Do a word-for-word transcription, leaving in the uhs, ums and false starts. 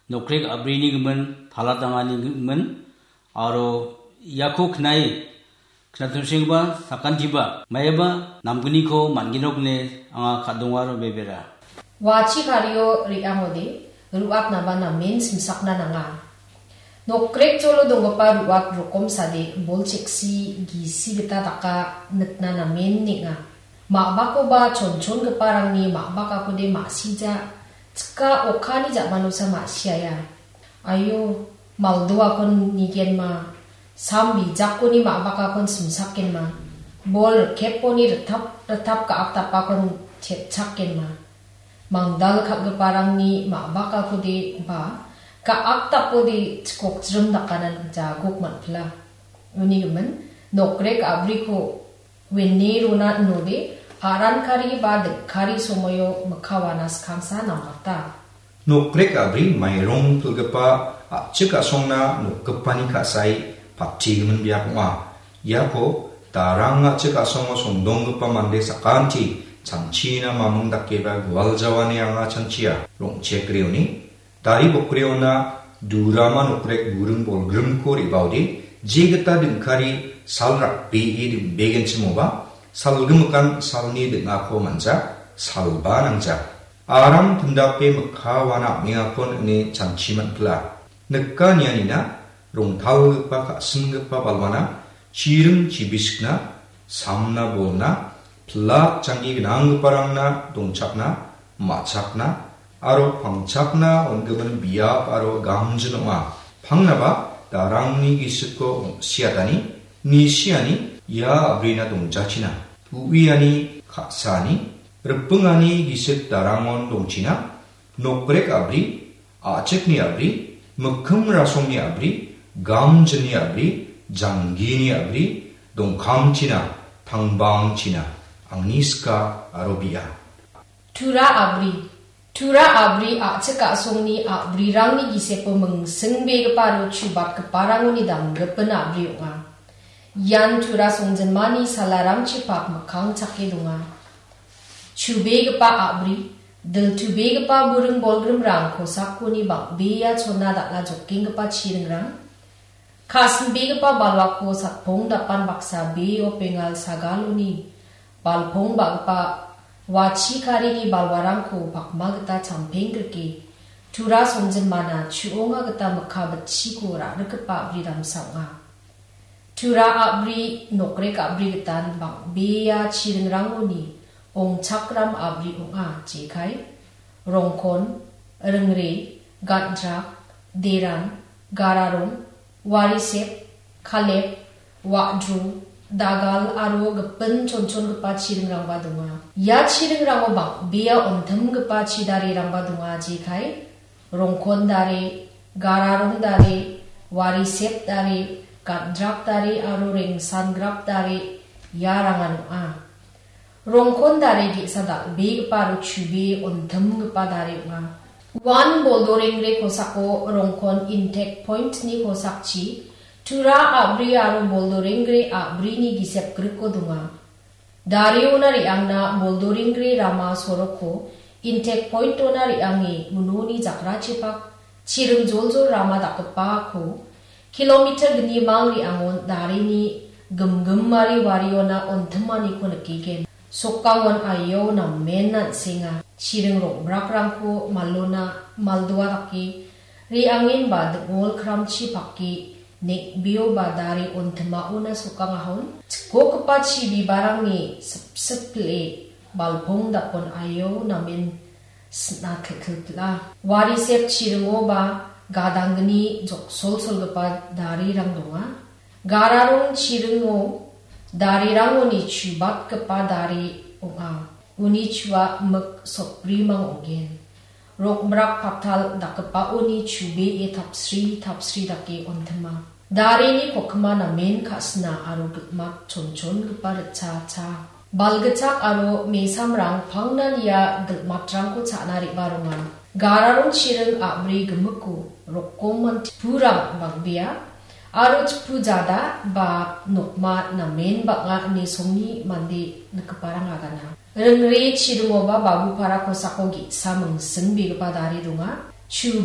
Nokrek a·brini gimin, palatangani gimin, aro iako knai knatongsengipa sakantiba maiaba namgniko man·genok ine anga ka·dongaro bebera. Wachi kario re·angode ru·atnaba namen simsakna nanga. Nokrek jolo donggipa ru·at rokomsade bol cheksi gisi gita daka nikna namen neng·a. Ma·bakoba chonchongiparangni ma·bakakode ma·sija, chika okani ja·manosa ma·siaia. Aio, maldoakon nigenma, sam bijakoni ma·bakakon simsakgenma, bol rikeponi ritap ritap ka·aptapakon chepchakgenma. Mangdal kal·giparangni ma·bakakode ba ka·aptapode chikokjrim dakana jagok man·pila. Uni gimin, nokrek a·briko wene rona inode, aran kari ba dingkari somoio mikka wana skangsa namgata. Nokrek a·bri mairong pilgipa a·chik a·songna nokgipani ka·sai pattigimin biap ong·a. Iako darang a·chik a·songo songdonggipa mande sakanti chanchina mamung dakeba gualjawane anga chanchia. Rong·chek reoni, dari bokreona durama nokrek buring bolgrimko re·baode, jegita dingkari sal rakbee dingbegenchimoba, salgimikan salni ding·ako man·ja, salba nangja. Aram tindape mikka wana am·engakon ine chanchi man·pila. Nika nianina, rongtalgipa ka·singipa balwana, chiring chibisikna, samna bolna, pilak janggi gnanggiparangna dongchakna, ma·chakna, aro pangchakna on·gimin biap aro gamjin ong·a. Pangnaba darangni gisiko ong·siatani, nisiani ia a·brina dongjachina. U·iani ka·saani, ripingani gisik darangon dongchina, nokrek a·bri, a·chikni a·bri, mikkim rasongni a·bri, gamjinni a·bri, janggini a·bri, dongkamchina, tangbangchina, angni sika aro bi·a. Tura a·bri. Tura a·bri a·chik a·songni a·brirangni gisepo mingsingbegipa aro chubatgiparangoni damgipin a·bri ong·a. Ian Tura songjinmani salarangchipak mikkang chake donga. Chubegipa a·bri, diltubegipa buring bolgrimrang kosakoni bang·bea chona dal·a jokenggipa chiringrang, ka·sinbegipa balwako satpong dapan baksa beo pengal sagaloni balpong ba·gipa wachi karini balwarangko pakma gita champenggrike, Tura songjinmana chu·onga gita mikka bitchiko ra·rikgipa a·bri damsa ong·a. Tura a·bri, nokrek a·bri gitan bang·bea chiringrangoni ongchakram a·bri ong·a, jekai, Rongkon, Ringre, Gandrak, Deran, Gararong, Warisep, Kalep, Wa·dru, Dagal aro gipin chonchongipa chiringrangba donga. Ia chiringrango bang·bea ontimgipa chidarirangba donga, jekai, Rongkon dare, Gararong dare, Warisep dare, Gandrak dare aro Rengsangrap dare, iarangan ong·a. Rongkon dare ge·sa dal·begipa aro chubee ontimgipa dare ong·a. Uan Boldorengre kosako Rongkon Intek Point-ni kosakchi Tura a·bri aro Boldorengre a·brini gisep griko donga. Dareona re·angna Boldorengre rama soroko Intek Point-ona re·ange unoni jakrachipak chiring joljol rama dakgipako kilometer gnimang re·angon dareni gimgimari wariona ontimaniko nikgen. Sokangon aio namen an·senga. Chiring rong·brakrangko malona maldoa dake re·angenba ding·ol kramchi pake neng·beoba dare ontimaona sokangahon chikokgipa chi bibarangni sipsip pil·e balpong dakon aio namen sina kelkel pil·a. Warisep chiringoba gadanggni joksolsolgipa darirang donga. Gararong chiringo darirangoni chubatgipa dari ong·a. Uni chua mik sotbrimang ong·gen. Rong·brak patal dakgipaoni chubee tapsri tapsri dake ontima. Darini kokima namen ka·sina aro gilmat chonchongipa ritcha cha. Balgitchak aro mesamrang pangnan ia gilmatrangko cha·na re·baronga. Gararong chiring a·bri gimiko rokomon tipurang bang·bea aro tipu jada ba nokma namen bang·a ine songni mande nikgiparang agana. Ringre chiringoba Babupara kosako ge·sa mingsingbegipa dari donga. Chu